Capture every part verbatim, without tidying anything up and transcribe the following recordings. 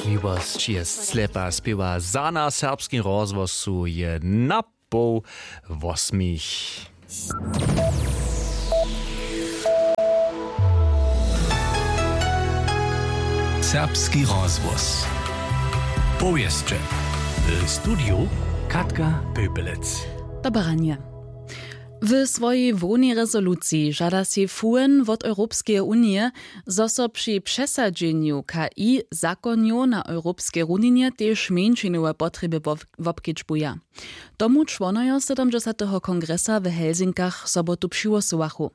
Miłosć je slepa spěwa za na serbskim rozhłosu je na poł wosmich. Serbski rozhłos. Powěsće. W studiju Katka Pöpelec. Dobre ranje. W swojej hłownej rezoluciji žada sej F U N wot Europskeje unije, zo so při přesadźenju K I zakonjow na europskej runinje tež mjeńšinowe potrjeby wop-, wobkedźbuja. Tomu čłonojo sydomdźesateho kongresa w Helsinkach sobotu přihłosowachu.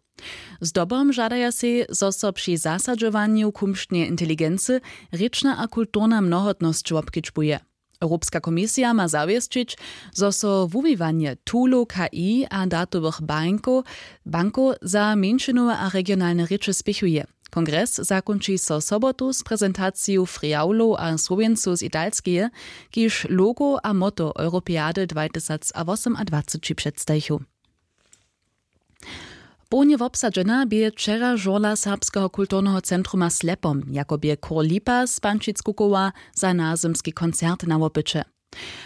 Zdobom žadaja sej, zo so při zasadźowanju kumšneje inteligency rěčna a kulturna mnohotnosć wobkedźbuje. Europska komisija ma zawěsćić, zo so wuwiwanje toolow K I a datowych bankow, bankow za mjeńšinowe a regionalne rěče spěchuje. Kongres zakónči so sobotu z prezentaciju Friaulow a Słowjencow z Italskeje, kiž logo a motto Europeady dwatysacwosomadwaceći předstajichu. Połnje wobsadźena bě wčera žurla Serbskeho kulturneho centruma Slepom, jako bě chór Lipa z Pančic kukowa za nazymski koncert na wopyće.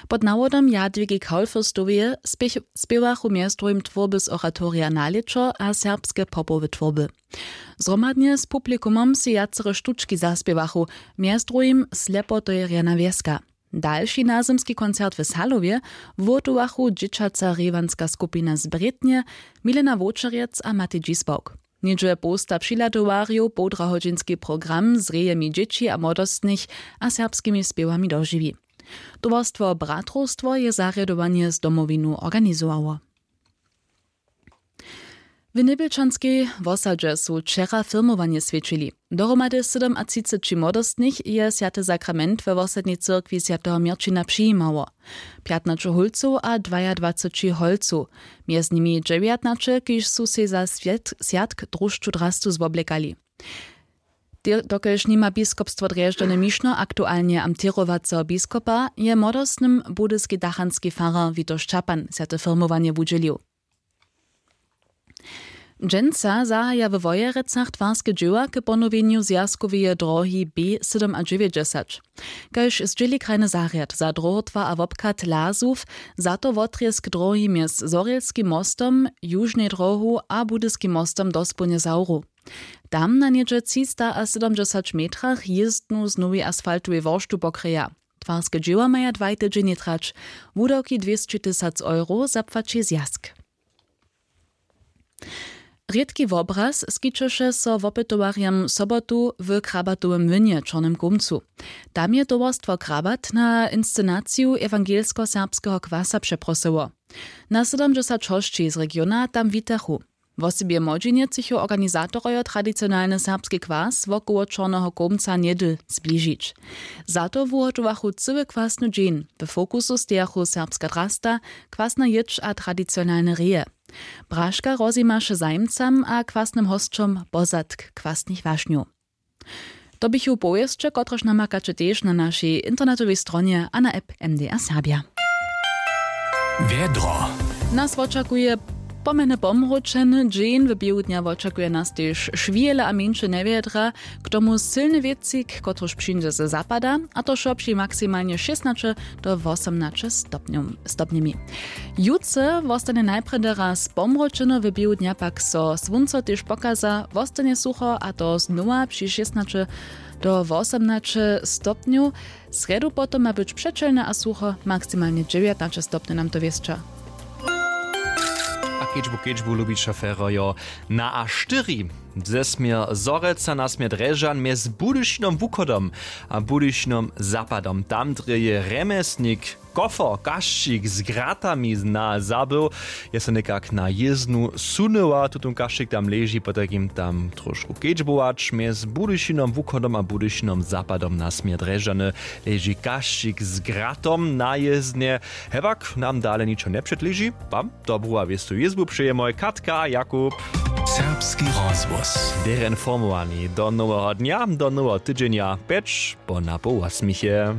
Pod nawodom Jadwigi Kaulfürstoweje spěch-, spěwachu mjez druhim twórby z oratorija Na lěćo a serbske popowe twórby. Zhromadnje z publikumom sej wjacore štučki zaspěwachu, mjez druhim Slepotojerjana wjeska. Dalši nazymski koncert w Salowje wuhotowachu dźěćaca rěwanska skupina z Brětnje, Milena Wowčerjec a Matej Dźisbawk. Něhdźe połsta přihladowarjow połdrahodźinski program z rejemi dźěći a młodostnych a serbskimi spěwami dožiwi. Towarstwo Bratrowstwo je zarjadowanje z Domowinu organizowało. W Njebjelčanskej wosadźe su wčera firmowanje swjećili. Dohromady sydomatřiceći młodostnych je swjaty sakrament we wosadnej cyrkwi swjateho Měrćina přijimało. Pjatnaće hólcow a dwajadwaceći holcow, mjez nimi dźewjatnaće, kiž su sej za swjat-, swjatk drósću drastu zwoblekali. Te-, dokelž nima biskopstwo Drježdźany Mišno aktualnje amtěrowaceho biskopa, je młodostnym budyski dachanski farar Witold Šćapan swjate firmowanje wudźělił. Dźensa zahaja we Wojerecach twarske dźěła k ponowjenju zwjazkoweje drohi B sydomadźewjećdźesać. Kaž zdźěli krajny zarjad za dróhotwar a wobchad Lazow, za to wotrězk drohi mjez Zhorjelskim mostom, Južnej drohu a Budyskim mostom dospołnje zawru. Tam na něhdźe třistasydomdźesać metrach jězdnu z nowej asfaltowej worštu pokryja. Twarske dźěła maja dwaj tydźenje trać, wudawki dwěsći tysac euro zapłaći zwjazk. Rědki wobraz skićeše so wopytowarjam sobotu w Krabatowym młynje w Čornym Kołmcu. Tam je towarstwo Krabat na inscenaciju ewangelskeho serbskeho kwasa přeprosyło. Na sydomdźesać hosći z regiona tam witachu. Wosebje młodźinje třěchu organizatorojo tradicionalny serbski kwas wokoło Čorneho Kołmca njedl zbližić. Za to wuhotowachu cyły kwasny dźeń. W fokusu stejachu serbska drasta, kwasna jědź a tradicionalne reje. Braška rozjimaše zajimcam a kwasnym hosćom pozadk kwasnych wašnjow. To běchu powěsće, kotrež namakaće tež na našej internetowej stronje a na app M D R Serbja. Wjedro. Nas wočakuje pomjeny pomhročeny dźeń, w běhu dnja wočakuje nas tež šwihele a mjeńše njewjedra, k tomu sylny wětřik, kotryž přińdźe ze zapada, a to wšo při maksimalnje šěsnaće do wosomnaće stopnjow-, stopnjemi. Jutře wostanje najprjedy raz pomhročeno, w běhu dnja pak so słónco tež pokaza, wostanje sucho, a to znowa při šěsnaće do wosomnaće stopnjow. Srjedu potom ma być přećelne a sucho, maksimalnje dźewjatnaće stopnjow nam to wěsća. A kedźbu, kedźbu, lubić šoferojo, na A štyri. Ze směr Zhorjelca na směr Drježdźan mjez Budyšinom wuchodom a Budyšinom zapadom. Tam drje je rjemjesnik Kofer Kašćik z gratami na zabył. Je so někak na jěznu sunyła, tutón Kašćik tam leži, potajkim tam trošku kedźbować. Mjez Budyšinom wuchodom a Budyšinom zapadom na směr Drježdźany leži Kašćik z gratom na jěznje. Hewak nam dale ničo njepředleži. Wam dobru a wěstu jězbu přeje mój Katka Jakub. Serbski rozhłos. Běrje informowani do noweho dnja, do noweho tydźenja, pjeć po napoł wosmich je.